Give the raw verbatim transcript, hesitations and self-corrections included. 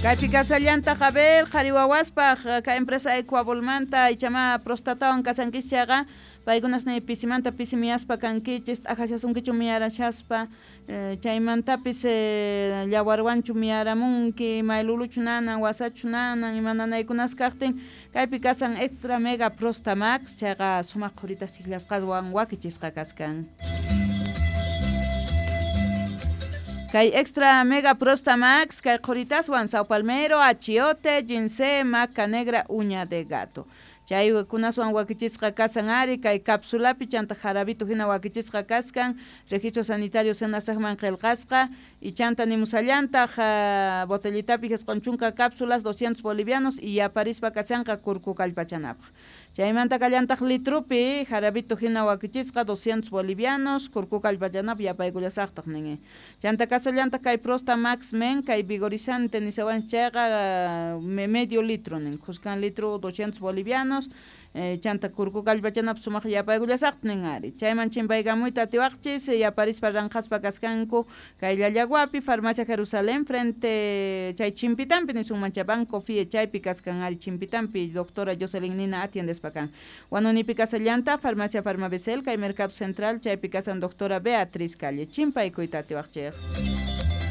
Kaypi kasallantaq a ver qhari wawaspaq kay empresa Ecuabolmanta ichama prostatawan kasankichis chayqa paykunas ni pisimanta pisi miyaspa kankichis t'aqashasunkichu miyarashaspa chaymantapis llawarwanchu miyaramunki mayluluchu nanan wasachu nanan ima nanaykunas kaqtin kaypi kasan Extra Mega Prosta Max chayqa sumaq qhuritas chiklasqaswan wakichisqa kaskan. Kay Extra Mega Prosta Max, kay qhuritaswan Sao Palmero, achiote, ginseng, maca negra, uña de gato. Chay kunaswan wakichisqa kasan ari, kay cápsulapi chanta jarabito hina wakichisqa kaskan, registro sanitario senasaqman qillqasqa, y chanta nimusallantaq uh, botellitapi jisqun chunka cápsulas doscientos bolivianos y yaparispa kasanqa kurku kallpachanapaq. Chaymanta kallantaq litrupi jarabito hina wakichisqa doscientos bolivianos kurku kallpachanapaq yapaykullasaqtaq nin. Chanta kasallantaq kay Prosta Max Men kay vigorizante nisawan chayqa medio litro nin, khuskan litro doscientos bolivianos. Eh, chanta kurku kallpachanapaq sumaq yapaykullasaqtaq nin ari. Chayman chimpaykamuyta atiwaqchis yaparispa ranqaspa kaskanku kay Llallaguapi Farmacia Jerusalén frente chay Chimpitampi nisunman chay Banco F I E chaypi kaskan ari Chimpitampi doctora Jocelyn Nina atiendespa kan. Wanunipi kasallanta Farmacia Farmabecel kay Mercado Central chaypi kasan doctora Beatriz Calle chimpaykuyta atiwaqchis.